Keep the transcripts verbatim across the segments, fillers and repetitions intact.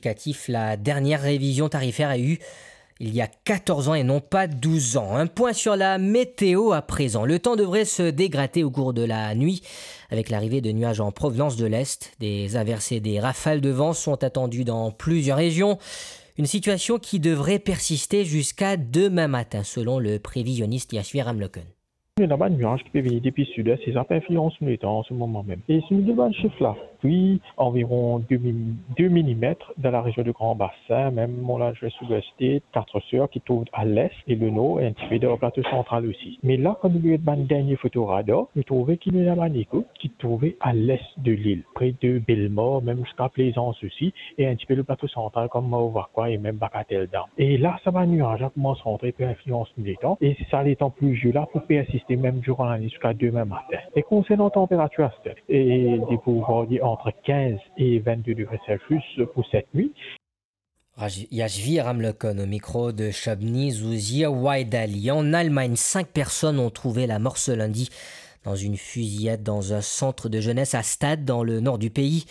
Indicatif, la dernière révision tarifaire a eu il y a quatorze ans et non pas douze ans. Un point sur la météo à présent. Le temps devrait se dégrader au cours de la nuit avec l'arrivée de nuages en provenance de l'est. Des averses et des rafales de vent sont attendues dans plusieurs régions. Une situation qui devrait persister jusqu'à demain matin, selon le prévisionniste Yashvi Ramloken. Nou ena bann nwaz ki pe vini depi sid, e sa pe inflians nou letan an se moman mem. E si nou get bann sif lapli, anviron de mi-, de milimet dan larezion de Gran Basin, mem Mont Langlais, Silver State, Quatre Sœurs ki trouv a l'est e le nor, e enn tipe dan Plato Santral osi. Me la, kan nou get bann dernie foto radar, nou trouve ki nou ena bann ekout ki trouve a l'est de lil, pre de Bellemare, mem ziska Plaisance osi, e enn tipe le Plato Santral kom Mauvacois e mem Bagatelle Dam. E la, sa bann nwaz la koumans rantre, pe inflians nou letan, e sa letan pli zie la pou persiste mem diran lanwit ziska demain matin. E konsernan tanperatir aster, e li pou varye ant kinz e vennde degre Celsius pou set nwit. Yashvi Ramloken au micro de Shobni Zouzir Waidali. En Allemagne, cinq personnes ont trouvé la mort ce lundi dans une fusillade dans un centre de jeunesse à Stade, dans le nord du pays.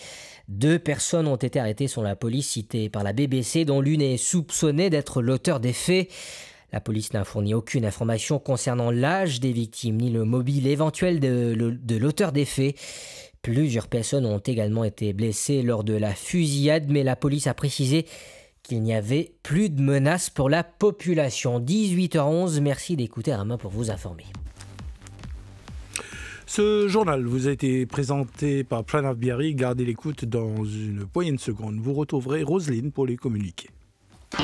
Deux personnes ont été arrêtées selon la police citée par la B B C, dont l'une est soupçonnée d'être l'auteur des faits. La police n'a fourni aucune information concernant l'âge des victimes ni le mobile éventuel de, de l'auteur des faits. Plusieurs personnes ont également été blessées lors de la fusillade, mais la police a précisé qu'il n'y avait plus de menace pour la population. Dix-huit heures onze, merci d'écouter Rama pour vous informer. Ce journal vous a été présenté par Pranav Biari. Gardez l'écoute, dans une poignée de secondes, vous retrouverez Roselyne pour les communiqués.